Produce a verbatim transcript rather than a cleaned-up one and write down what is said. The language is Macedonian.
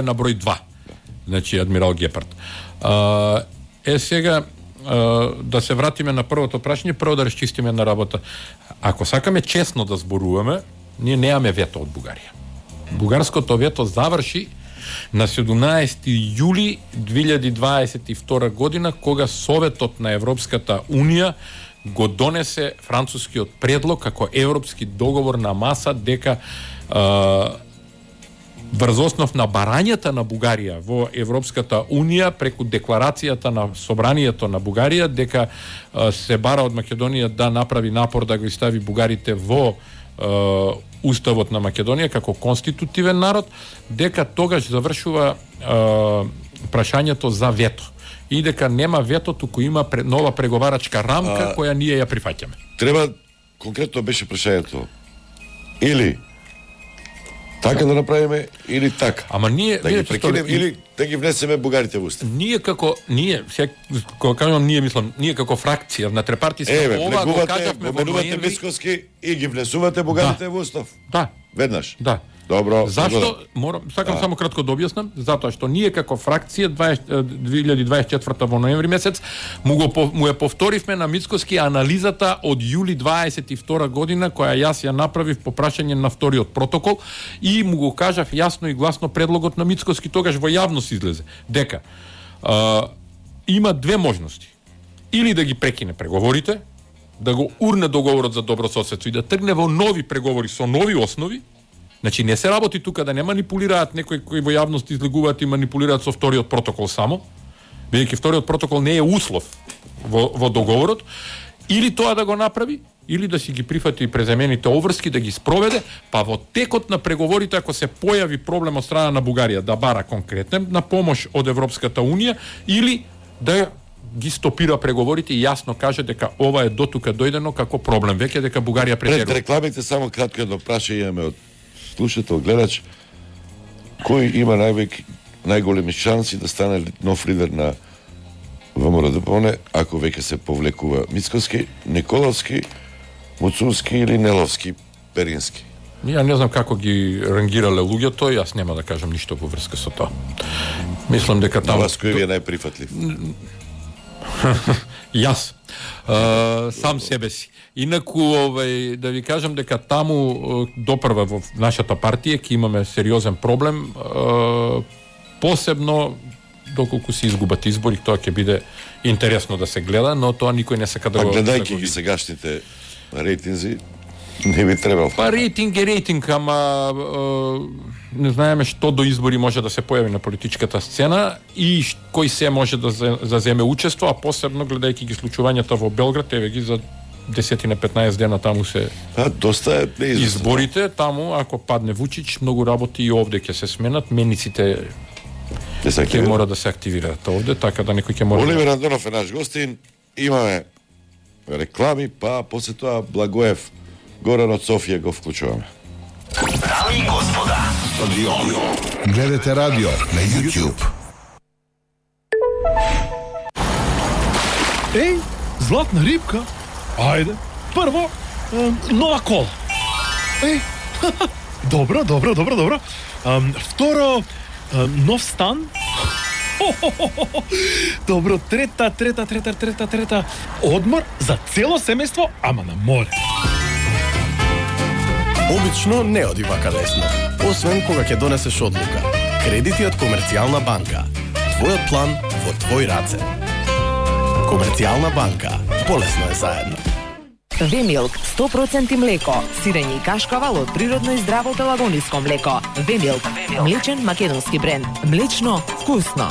на број два. Значи адмирал Гепард. А, е сега а, да се вратиме на првото прашање, прво да расчистиме на работа. Ако сакаме честно да зборуваме, ние немаме вето од Бугарија. Бугарското вето заврши на седумнаесети јули две илјади дваесет и втора година, кога Советот на Европската Унија го донесе францускиот предлог како европски договор на маса дека а, врз основ на барањата на Бугарија во Европската Унија преку декларацијата на собранието на Бугарија дека а, се бара од Македонија да направи напор да го стави бугарите во а, Уставот на Македонија како конститутивен народ, дека тогаш завршува а, прашањето за вето. И дека нема вето, туку има нова преговарачка рамка а, која ние ја прифаќаме. Треба, конкретно беше прашањето, или така да направиме, или така. Ама ние да ги прекинем, и... или да ги внесеме бугарите во устав. Ние како ние, сега кога кажам ние мислам, ние како фракција на трепартиска ова го кажавме во ноември Мицкоски и ги внесувате бугарите да. во устав. Да. Веднаш. Да. Добро. Зашто? Морам, сакам а. само кратко да објаснам, затоа што ние како фракција две илјади дваесет и четврта во ноември месец му го му ја повторивме на Мицкоски анализата од јули дваесет и втора година која јас ја направив по прашање на вториот протокол и му го кажав јасно и гласно предлогот на Мицкоски, тогаш во јавност излезе дека а, има две можности. Или да ги прекине преговорите, да го урне договорот за добрососедство и да тргне во нови преговори со нови основи. Значи не се работи тука да не манипулираат некои кои во јавност излегуваат и манипулираат со вториот протокол само, бидејќи вториот протокол не е услов во, во договорот, или тоа да го направи, или да си ги прифати преземените обврски да ги спроведе, па во текот на преговорите ако се појави проблем од страна на Бугарија да бара конкретна на помош од Европската Унија, или да ги стопира преговорите и јасно каже дека ова е дотука дојдено како проблем, веќе дека Бугарија претерува. Пред рекламите само кратко едно прашање имаме од слушател, гледач, кој има највеќе најголеми шанси да стане нов лидер на ВМРО-ДПОНЕ, ако веќе се повлекува Мицкоски, Николовски, Муцунски или Неловски, Перински? Ја не знам како ги рангирале луѓето, јас нема да кажам ништо во врска со тоа. Мислам дека таму... На вас кој ви е најприфатлив? Јас. Uh, сам себе си. Инаку, овај, да ви кажам дека таму uh, допрва во нашата партија ќе имаме сериозен проблем, uh, посебно доколку се изгубат избори, тоа ќе биде интересно да се гледа, но тоа никој не сака да а го... А гледајќи ги сегашните рейтинзи, не би требало. Па рейтинг е рейтинг, ама uh, не знаеме што до избори може да се појави на политичката сцена и кој се може да заземе учество, а посебно гледајќи ги случувањата во Белград, еве ги за десет на петнаесет дена таму се а, доста е неизвестно. Изборите, таму ако падне Вучич, многу работи и овде ќе се сменат, мениците ќе мора да се активираат овде, така да некој ќе мора... Оливер Андонов е наш гостин, имаме реклами, па после тоа Благоев Горан од Софија го вклучуваме. Дами и господа, гледате радио на YouTube. Еј, златна рибка. Ајде, прво, е, нова кола. Еј, добро, добро, добро, добро. Е, второ, е, нов стан. Добро, трета, трета, трета, трета, трета. Одмор за цело семејство, ама на море. Обично не оди вака лесно, освен кога ќе донесеш одлука. Кредити од Комерцијална банка. Твојот план во твој раце. Комерцијална банка. Полесно е заедно. Вемилк, сто проценти млеко, сирење и кашкавал од природно и здраво пелагониско млеко. Вемилк, млечен македонски бренд. Млечно, вкусно.